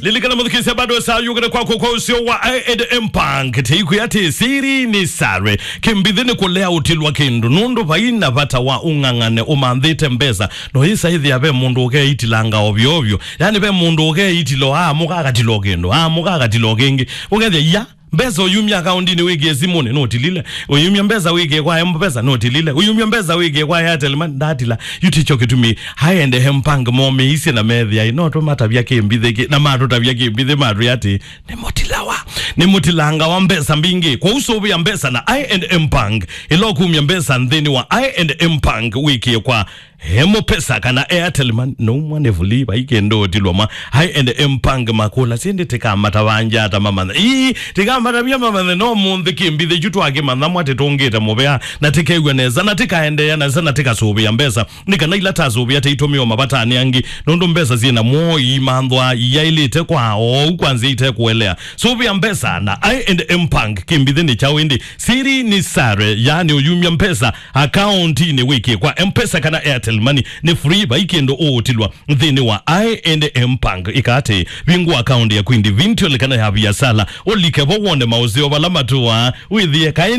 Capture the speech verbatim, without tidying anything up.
Lilikana mũthikĩsya, bado saa yũkĩte kwako kwa ũseo wa I and M Bank. Teikwĩa atĩ siri ni sare. Kĩmbithĩ nĩ kũlea ũtilwa kĩndũ. Nũndũ vai na vata wa ũng'ang'ane ũmanthĩte mbesa. No ĩsa ĩthĩa ve mũndũ ũkeitilanga ovyo ovyo. Yani ve mũndũ ũkeitilo, amũka akatilo kĩndũ, amũka akatilo kĩngĩ. Ũkethĩa, ya, mbesa ũyumya akaundinĩ wĩkĩe simũnĩ, nũtilile. Ũyumya mbesa wĩkĩe kwa M-Pesa, nũtilile. Ũyumya mbesa wĩkĩe kwa Airtel Money, ndatila. Yu tikyo kĩtumi I and M Bank momĩisye na methĩa, no tũmatavya kĩmbithĩ kĩ, na matũtavya kĩmbithĩ matwĩa atĩ, nĩ mũtilawa. Nĩ mũtilanga wa mbesa mbingĩ. Kwa ũsũvĩa mbesa na I and M Bank, ĩla ũkumya mbesa nthĩnĩ wa I and M Bank wĩkĩe kwa M-Pesa kana Airtel Money, no mwa nĩ vuli, vai kĩndũ ũtilwa ma I and M Bank makũla, sindi tikamatavanja ata mamanthe. Ii, tikamatavya mamanthe, no mũnthĩ kĩmbithĩ kyu twakĩmantha mwa tĩtũngĩte mũvea, na tikew'a nesa, na tikaendeea nesa, na tikasũvĩa mbesa. Nĩ kana ila tasũvĩa taitũmĩwa mavatani angĩ, nũndũ mbesa syĩ na mwoo iimanthwa iyaĩlĩte kwa oou kwa nzĩa itekũelea. Sũvĩa mbesa na I and M Bank, kĩmbithĩ nĩ kyaũ ĩndĩ? Siri ni sare, yani ũyumya mbesa akauntinĩ wĩkĩe kwa M-Pesa kana Airtel Money. Nĩ free, vai kĩndũ ũũtilwa nthĩnĩ wa I and M Bank. Ĩka atĩ, vingũa akaunti yaku individual kana ya viasala, ũlike vo wone maũseo vala matũaa, wĩthĩe kaĩ